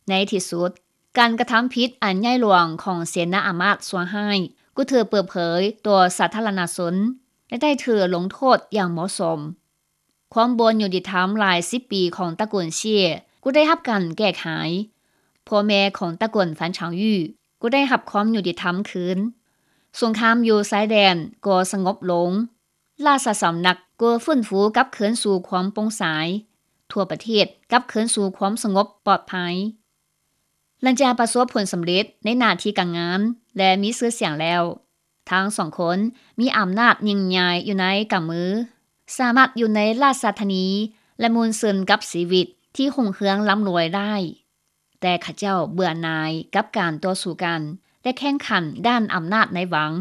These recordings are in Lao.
ໃນທີ່ສຸດ, ການກະທຳຜິດອັນໃຫຍ່ຫຼວງຂອງເສນາອາມາດຊົ່ວຮ້າຍ ກໍຖືກເປີດເຜີຍຕໍ່ສາທາລະນະຊົນ ແລະ ໄດ້ຖືກລົງໂທດຢ່າງເໝາະສົມ. ຄວາມບໍ່ຍຸຕິທຳຫຼາຍສິບປີຂອງຕະກຸນເຊຍ ກໍໄດ້ຮັບການແກ້ໄຂ. ພໍ່ແມ່ຂອງຕະກຸນຟານຊາງຢູ່ ກໍໄດ້ຮັບຄວາມຍຸຕິທຳຄືນ. ສົງຄາມຢູ່ຊາຍແດນກໍສະຫງົບລົງ. ລາຊະສຳນັກກໍຟື້ນຟູກັບຄືນສູ່ຄວາມໂປ່ງໃສ. ທົ່ວປະເທດກັບຄືນສູ່ຄວາມສະຫງົບປອດໄພ. ຫຼັງຈາກປະສົບຜົນສຳເລັດໃນໜ້າທີ່ການງານ ແລະ ມີຊື່ສຽງແລ້ວ, ທັງສອງຄົນມີອຳນາດຍິ່ງໃຫຍ່ຢູ່ໃນກຳມື, ສາມາດຢູ່ໃນລາຊະທານີ ແລະ ມ່ວນຊື່ນກັບຊີວິດທີ່ຮຸ່ງເຮືອງລ້ຳລວຍໄດ້. ແຕ່ເຂົາເຈົ້າເບື່ອໜ່າຍກັບການຕໍ່ສູ້ກັນ ແລະ ແຂ່ງຂັນດ້ານອຳນາດໃນວັງ,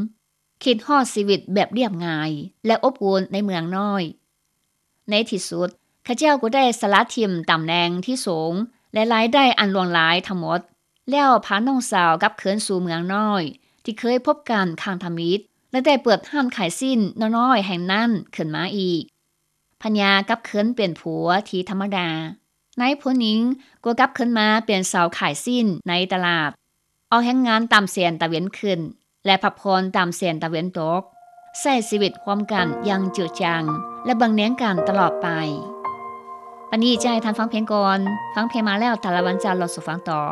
ຄິດຮອດຊີວິດແບບລຽບງ່າຍ ແລະ ອົບອຸ່ນໃນເມືອງນ້ອຍ. ໃນທີ່ສຸດ, ເຂົາເຈົ້າກໍໄດ້ສະລະຖິ້ມຕຳແໜ່ງທີ່ສູງ ແລະ ລາຍໄດ້ອັນຫຼວງຫຼາຍທັງໝົດ, ແລ້ວພານ້ອງສາວກັບຄືນສູ່ເມືອງນ້ອຍ ທີ່ເຄີຍພົບກັນຄັ້ງທຳອິດ ແລະ ໄດ້ເປີດຮ້ານຂາຍຊີ້ນນ້ອຍໆແຫ່ງນັ້ນຂຶ້ນມາອີກ. ພັນຍາກັບຄືນເປັນຜົວທີ່ທຳມະດາ. ນາຍຜູ້ຍິງກໍກັບຄືນມາເປັນສາວຂາຍຊີ້ນໃນຕະຫຼາດ, ອອກແຮງງານຕາມແສງຕາເວັນຂຶ້ນ ແລະ ພັກຜ່ອນຕາມແສງຕາເວັນຕົກ, ໃຊ້ຊີວິດຮ່ວມກັນຢ່າງເຈີດຈັງ ແລະ ເບິ່ງແຍງກັນຕະຫຼອດໄປ. ປານນີ້ຈະໃຫ້ທ່ານຟັງເພງກ່ອນ, ຟັງເພງມາແລ້ວ ແຕ່ລະວັນຈະເລົ່າສູ່ຟັງຕໍ່.